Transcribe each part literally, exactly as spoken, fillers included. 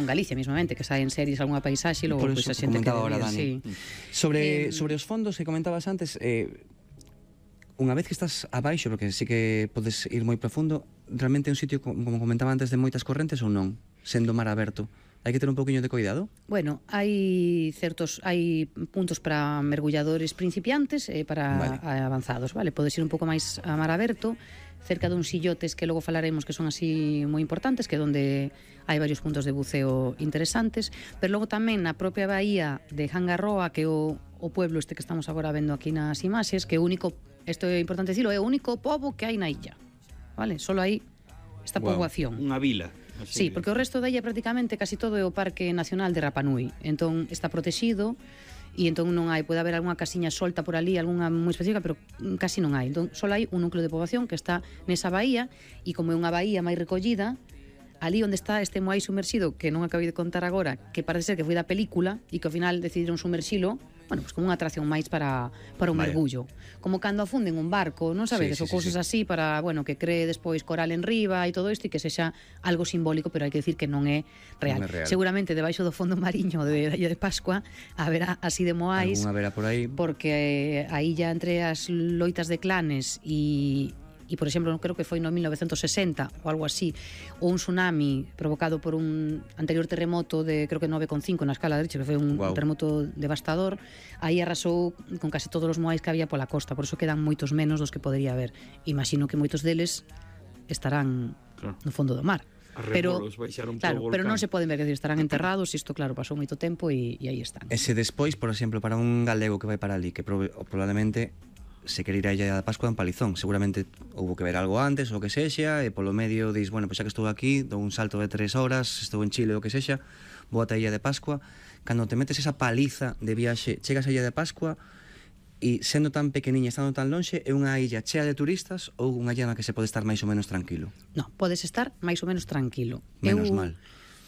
en Galicia mismamente, que saen series algunha paisaxe e logo Por pois eso a xente que comentaba ahora, debía, Dani. sí. Sobre, Eh, sobre os fondos que comentabas antes, eh, unha vez que estás abaixo, porque sí que podes ir moi profundo, realmente é un sitio, como comentaba antes, de moitas correntes ou non? Sendo mar aberto, hai que ter un poquinho de cuidado? Bueno, hai certos hai puntos para mergulladores principiantes e para Vale. avanzados, vale? Podes ir un pouco máis a mar aberto, cerca duns illotes que logo falaremos que son así moi importantes, que é onde hai varios puntos de buceo interesantes, pero logo tamén na propia bahía de Hangarroa, que é o, o pueblo este que estamos agora vendo aquí nas imaxes, que é o único, isto é importante dicilo, é o único pobo que hai na illa, vale? Solo hai esta Wow, poboación. Unha vila. Sí, Así. porque o resto da illa prácticamente casi todo é o Parque Nacional de Rapa Nui. Entón está protegido e entón non hai, pode haber algunha casiña solta por ali, algunha moi específica, pero casi non hai. Entón só hai un núcleo de poboación que está nesa bahía e como é unha bahía máis recollida, ali onde está este moai sumerxido, que non acabei de contar agora, que parece ser que foi da película e que ao final decidiron sumerxilo, bueno, pues como unha atracción máis para, para un Vaya. mergullo. Como cando afunden un barco, non sabedes, Sí, sí, ou cousas sí, sí. así para, bueno, que cree despois coral en riba e todo isto e que sexa algo simbólico, pero hai que decir que non é real. Non é real. Seguramente debaixo do fondo mariño de da Illa de Pascua haberá así de moais, Algunha vera por aí. porque a illa entre as loitas de clanes e e, por exemplo, creo que foi no mil novecentos sesenta ou algo así, ou un tsunami provocado por un anterior terremoto de, creo que nove coma cinco na escala de Richter, que foi un Guau. terremoto devastador, aí arrasou con casi todos os moais que había pola costa, por eso quedan moitos menos dos que podería haber. Imagino que moitos deles estarán Claro. no fondo do mar. A Pero, rebolos baixaron claro, polo pero non volcán. se poden ver, que estarán enterrados, isto claro, pasou moito tempo e, e aí están. E se despois, por exemplo, para un galego que vai para ali, que probe, probablemente se quere ir a Illa da Pascua en Palizón, seguramente houve que ver algo antes ou que sexa, e polo medio dis, bueno, pois xa que estou aquí, dou un salto de tres horas, estou en Chile ou que sexa, vou ata a Illa de Pascua. Cando te metes esa paliza de viaxe, chegas a Illa de Pascua e sendo tan pequeniña, estando tan lonxe, é unha illa chea de turistas ou unha illa na que se pode estar máis ou menos tranquilo? No, podes estar máis ou menos tranquilo. Menos Eu, mal.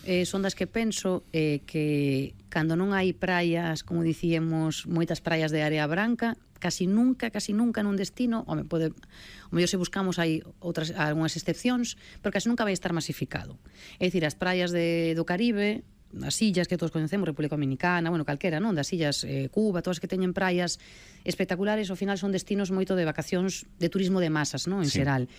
Eh, son das que penso eh, que cando non hai praias, como dicíamos, moitas praias de area branca, casi nunca, casi nunca nun destino, home, pode, o mellor se buscamos hai outras algunhas excepcións, pero casi nunca vai estar masificado. É dicir, as praias de, do Caribe, as illas que todos conhecemos, República Dominicana, bueno, calquera, non? Das illas eh, Cuba, todas que teñen praias espectaculares, ao final son destinos moito de vacacións, de turismo de masas, non? En Sí. xeral.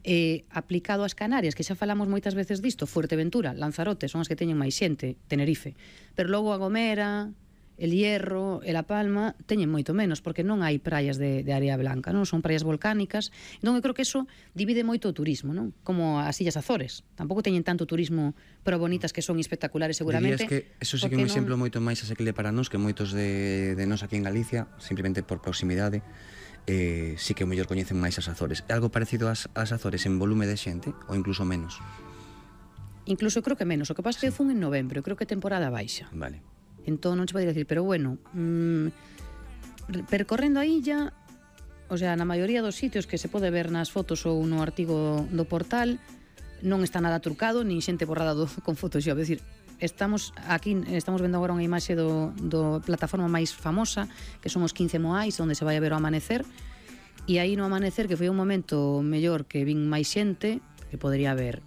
Eh, aplicado ás Canarias, que xa falamos moitas veces disto, Fuerteventura, Lanzarote, son as que teñen máis xente, Tenerife, pero logo a Gomera, El Hierro e La Palma teñen moito menos, porque non hai praias de, de área blanca, non? Son praias volcánicas. Entón, eu creo que eso divide moito o turismo, non? Como as Illas Azores. Tampouco teñen tanto turismo, pero bonitas que son espectaculares seguramente. Dirías que eso sí que é un exemplo moito máis asequible para nós que moitos de, de nós aquí en Galicia, simplemente por proximidade, eh, sí que o mellor coñecen máis as Azores. É algo parecido ás, ás Azores en volume de xente ou incluso menos? Incluso eu creo que menos. O que pasa é que fun en novembro, eu creo que temporada baixa. Vale. Entón non che poderia decir, pero bueno, mmm, percorrendo a illa, o sea, na maioría dos sitios que se pode ver nas fotos ou no artigo do portal, non está nada trucado, nin xente borrada do, con Photoshop. É dicir, estamos aquí, estamos vendo agora unha imaxe do, do plataforma máis famosa, que son os quince moais, onde se vai a ver o amanecer, e aí no amanecer, que foi un momento mellor que vin máis xente, que podría haber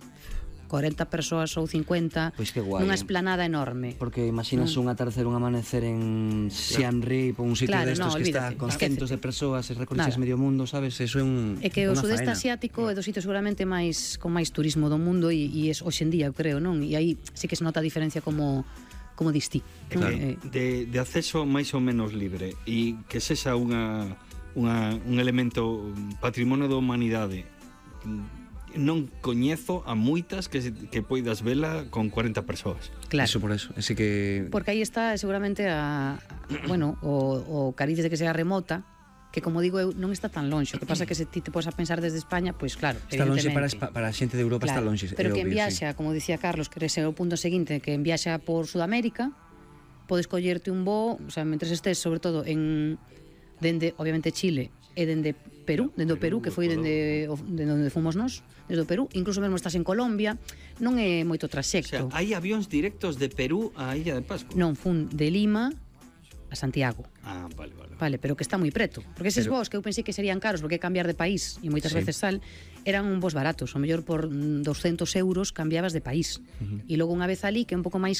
corenta persoas ou cincuenta, Pois que guai, nunha eh. esplanada enorme. Porque imaginas un atardecer, un amanecer en Siem Reap, un sitio Claro, destos no, que está olvídate, con esquécete. centos de persoas e recorres Nada. medio mundo, sabes? Eso é un É que o unha sudeste faena. asiático é do sitio seguramente máis con máis turismo do mundo e, e es hoxendía, eu creo, non? E aí sí que se nota a diferencia como como distí. Claro. Eh, De, de acceso máis ou menos libre e que sexa unha, unha, un elemento patrimonio da humanidade. Non coñezo a moitas que, se- que poidas vela con corenta persoas. claro. Eso por eso. Así que Porque aí está seguramente a, a bueno, o, o cariz de que sea remota, que como digo eu non está tan lonxe. O que pasa é que se ti te podes a pensar desde España, pois claro, está lonxe para, evidentemente. Espa- para a xente de Europa, está Claro, lonxe. pero é que en obvio, viaxa, como dicía Carlos, que ese é o punto seguinte, que en viaxa por Sudamérica, podes collerte un voo, o sea, mentres estés sobre todo en dende obviamente Chile e dende Perú, dende o Perú, que foi dende o- dende onde fomos nós, desde o Perú, incluso mesmo estás en Colombia, non é moito O sea, traxecto. hai avións directos de Perú a Illa de Pascua. Non fun de Lima a Santiago. Ah, vale, vale. Vale, pero que está moi preto. Porque eses Pero- voos que eu pensei que serían caros porque é cambiar de país e moitas Sí. veces sal, eran un vos baratos, o mellor por mm, doscientos euros cambiabas de país. Uh -huh. E logo unha vez ali, que é un pouco máis